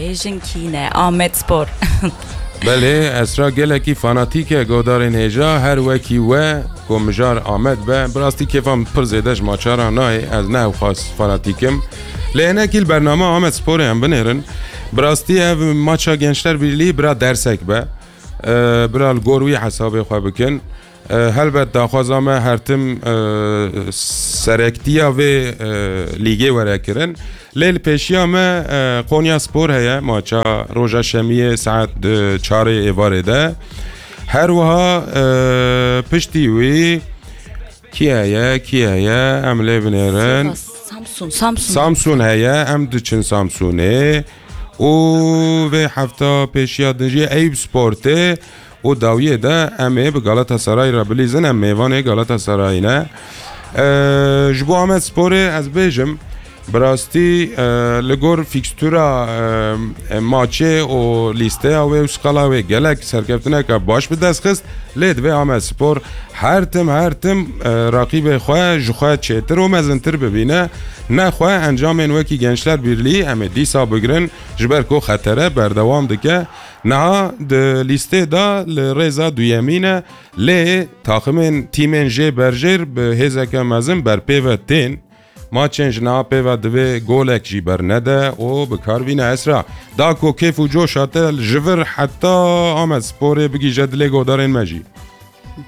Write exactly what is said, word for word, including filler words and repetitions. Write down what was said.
Bêjin kî ne? Amed Spor. Belê, Esra gelekî fanatîk e godarên hêja, her wekî we ku mijar Amed be. Bi rastî kêfa min pir zêde ji maça re nayê, ez ne ewqas fanatîk im. Lê hinekî li bernama Amed Sporê em binêrin. Bi rastî ev maça Gençler Birliği bira dersek be. Ee, bira li gor wî hesabê xwe bikin. Ee, helbet daxwaza me her tim, ee, serektiya vê, ee, lîgê were kirin. Lê li pêşiya me, ee, Konya Spor heye, maça roja şemiyê saet, ee, çarê êvarê de. Her wiha, ee, piştî wî kî heye, kî heye, em lê binêrin. Samsun, Samsun. Samsun heye, em diçin Samsunê. Û vê hefta pêşiya din jî Eyüp Sportê û dawiyê de em ê bi Galatasaray re bilîzin, em mêvanê Galatasaray ne. Ee, ji bo Amed Sporê ez bêjim, bi rastî, ee, li gor fîkstûra, ee, maçê û lîsteya wê û skala wê gelek serkeftineke baş bi dest xist, lê divê Amed Spor her tim, her tim, ee, raqîbê xwe ji xwe çêtir û mezintir bibîne. Nexwe encamên wekî Gençler Birliği em ê dîsa bigrin, ji ber ku xetere berdewam dike. Niha di lîstê de li rêza duyemîn e, lê taximên tîmên jê berjêr bi hêzeke mezin ber pê ve tên. Maçên ji niha pê ve divê golek jî bernede û bi kar bîne. Esra, da ku kêf û coşa te ji vir heta Amed Sporê bigihîje dilê godarên me jî.